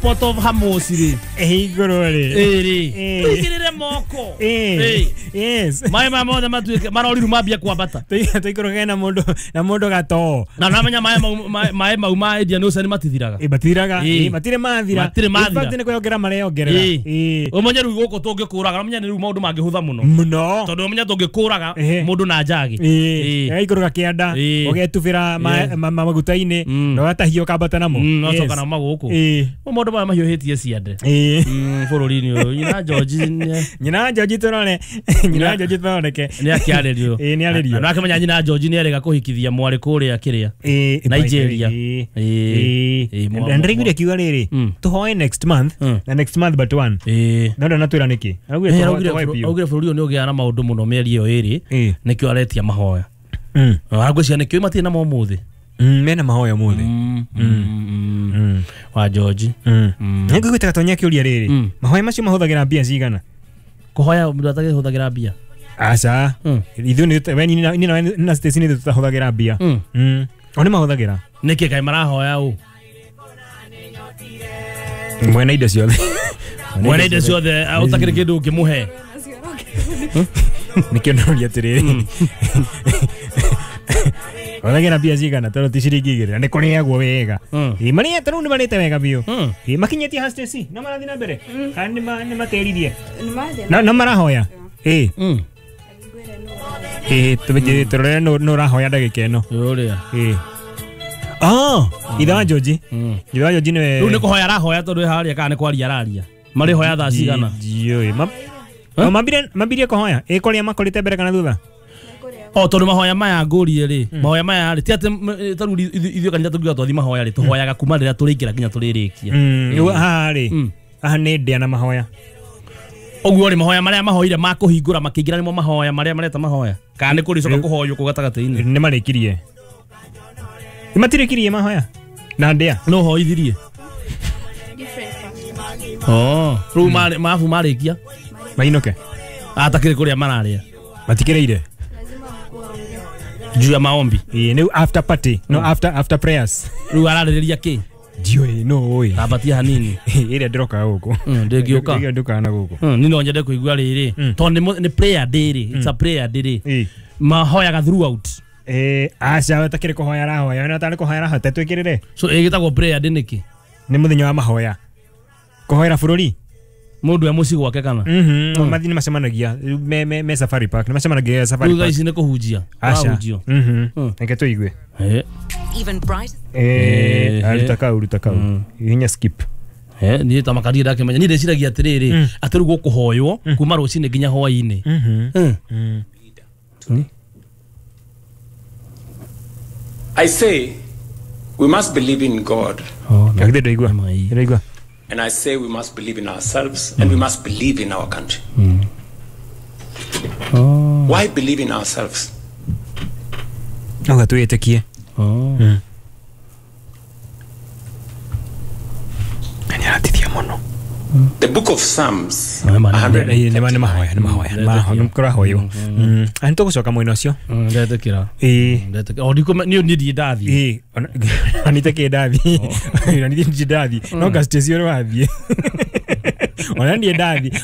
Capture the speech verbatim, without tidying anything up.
Port of Hormuz rĩ Igũrũ rĩ. Ĩrĩ. Eh. Tũigĩrĩre moko. Eh. Eh. Yes. Maĩ maya mothe matuĩke maroriru mambie kwambata. Tũikũrũke na mũndũ na mũndũ gatoo. Na namenya maĩ mau maĩ mau ma Indian Ocean matithiraga. Ĩ matithiraga. Ĩ. Ĩ matirĩ mathira. Matirĩ mathira. In fact nĩ kwĩyongerera mareyongerera. Ĩ. Ĩ. Ũmenye rĩu gũkũ tũngĩkũraga ũmenye rĩu maũndũ mangĩhũtha mũno. Mũno. Tondũ ũmenye tũngĩkũraga Ehe. mũndũ na njagi. Ĩ. Ĩ. Ĩgaikũrũka kĩanda Ĩ. ũgetubĩra ma- Yes. ma- ma- maguta-inĩ Mm. na ũgatahia ũkambata namo. Mm, Yes. nocoka namo gũkũ. Ĩ. Maũndũ maya mahiũhĩtie ciande. Ĩ. Mm, bũrũri-inĩ ũyũ nyina George nĩ Nyina George tũrore. Nyina George tũroreke. nĩ akĩarĩrio. Ĩ nĩ arĩrio. Na akĩmenya nyina George nĩ erĩga kũhikithia mwarĩ kũrĩa kĩrĩa. Ĩ. Nigeria. Ĩ. Ĩ. Ĩ, mwa- Na ndĩraiguire akiuga rĩrĩ Mm. tũhoe next month Mm. na next month but one. Ĩ. No ndanatwĩra nĩkĩ. Araugire Eh, tũhoe araugire tũhoe bũrũ- biũ. augire bũrũri ũyũ nĩ ũgĩaga na maũndũ mũno mĩeri ĩyo ĩrĩ Ĩ. nĩkĩo aretia mahoya. Mm. Aragwĩciria nĩkĩo matirĩ namo ũmũthĩ. Mm, mena mahoya ũmũthĩ. Mm, mm, mm. Wa George. Mm. Nĩngũiguĩte Gatonya akĩũria rĩrĩ Mm. mahoya macio mahũthagĩra mbia cigana? Kũhoya mũndũ atagĩhũthagĩra mbia. Aca. Mm. Ithuĩ nĩ we niĩ na- niĩ na na Stacy nĩ ithuĩ tũtahũthagĩra mbia. Mm. Mm. O nĩ mahũthagĩra. Nĩkĩ kaĩ marahoya ũ? Mwene indo ciothe. Mwene indo ciothe ũtakĩrĩ kĩndũ ũngĩmũhe. Nĩkĩo ndĩroria atĩrĩrĩ. Hũthagĩra mbia cigana tondũ ti ciringi igĩrĩ na nĩ kũrĩagwo wega. Mm. Ĩ marĩte rĩu nĩ marĩte wega biũ. Mm. Ĩ makinyĩtie ha Stacy no marathiĩ na mbere kana nĩ ma- nĩ matĩririe? Nĩ mathiĩ No no marahoya. Ĩ. Mm. Ĩ tũmĩnjĩre tũrore nũ nũ ũrahoya ndagĩka ĩno. Ũrĩa. Ĩ. Oh, ithe wa George. Mm. Ithe wa George nĩwe. Rĩu nĩ kũhoya arahoya tondũ harĩa kana nĩ kwaria araria. Marĩhoya thaa cigana? Ndiũĩ. Ma Oh, mambire mambirie kũhoya. Ĩ kũrĩa makorĩte mbere kana thutha? O tondũ mahoya maya ngũrie rĩ, mahoya maya rĩ, ti atĩ m- ta rĩu ithuĩ ithuĩ kanitha tũngiuga twathi mahoya rĩ, tũhoyaga kuma rĩrĩa tũrĩingĩra nginya tũrĩrĩkia. Mm, rĩu haha rĩ. Mm. Haha nĩ ndĩa na mahoya. Ũguo rĩ mahoya marĩa mahoire ma kũhingũra makĩingĩra nĩmo mahoya marĩa mareta mahoya. Kana nĩ kũrĩcoka kũhoywo kũu gatagatĩ-inĩ. Nĩ marĩkirie. Nĩ matirĩkirie mahoya. Na ndĩa. No hoithirie. Different pastors. Oh, rĩu marĩ mabu marĩkia. Mainũke. Atakĩrĩ kũrĩa mararĩa. Matikĩrĩire. Lazima mkuwe Juu ya maombi. Ĩ nĩu after party. No after after prayers. Rĩu ararĩrĩria kĩ? Ndiũĩ no ũĩ. Tambatia hanini. Ĩrĩa ndĩrokaga gũkũ. Mm, ndĩngĩũka. Ĩrĩa ndũkaga na gũkũ. Mm, niĩ no nyende kũigua rĩrĩ. Tondũ nĩ mũ- nĩ prayer day rĩ. It's a prayer day rĩ. Ĩ. Mahoyaga throughout. Eh, aca ũtakĩrĩ kũhoya arahoya. Ona tarĩ kũhoya arahoya twĩkĩrĩre. So ĩgĩtagwo prayer day nĩkĩ? Nĩ mũthenya wa mahoya. Kũhoera bũrũri. Mũndũ e mũciĩ gwake kana? Mhm. Mathi nĩ macemanagia me me me Safari Park. Nĩ macemanagia Safari Rĩu thaa Park. ici nĩ kũhunjia. Aca. Marahunjio. Mhm. Mm. Reke tũigue. Eh. Even brighter. Eh, Eh, aruta kau ruta kau. Hihinya skip. Eh, niĩ ta makaria ndakĩmenya niĩ ndĩciragia atĩrĩrĩ atĩ rĩu gũkũhoywo kuma rũcinĩ nginya hwaĩ-inĩ. Mhm. Mm. Mm. I say we must believe in God, Oh, no. Githĩ ndũigua? Mai. Ndũigua? and I say we must believe in ourselves and we must believe in our country. Oh. Why believe in ourselves? Auga twĩtĩkie. Oh. Na nĩ aratithia mũno. The book of Psalms, Maĩ ma- Ĩ, nĩ ma- nĩ mahoya nĩ mahoya. Nĩ mahoya nĩ kũrahoywo. Mm. Na nĩ tũgũcoka mwena ũcio. Mm, ndetĩkĩra. Ĩ. Ndetĩkĩra. O ndikũme niĩ niĩ ndirĩ ndathiĩ. Ĩ, ona ona itakĩ ndathiĩ. Ona niĩ ndirĩ ndathiĩ. No nga Stacy ũrĩ wathiĩ. Ona niĩ ndathiĩ.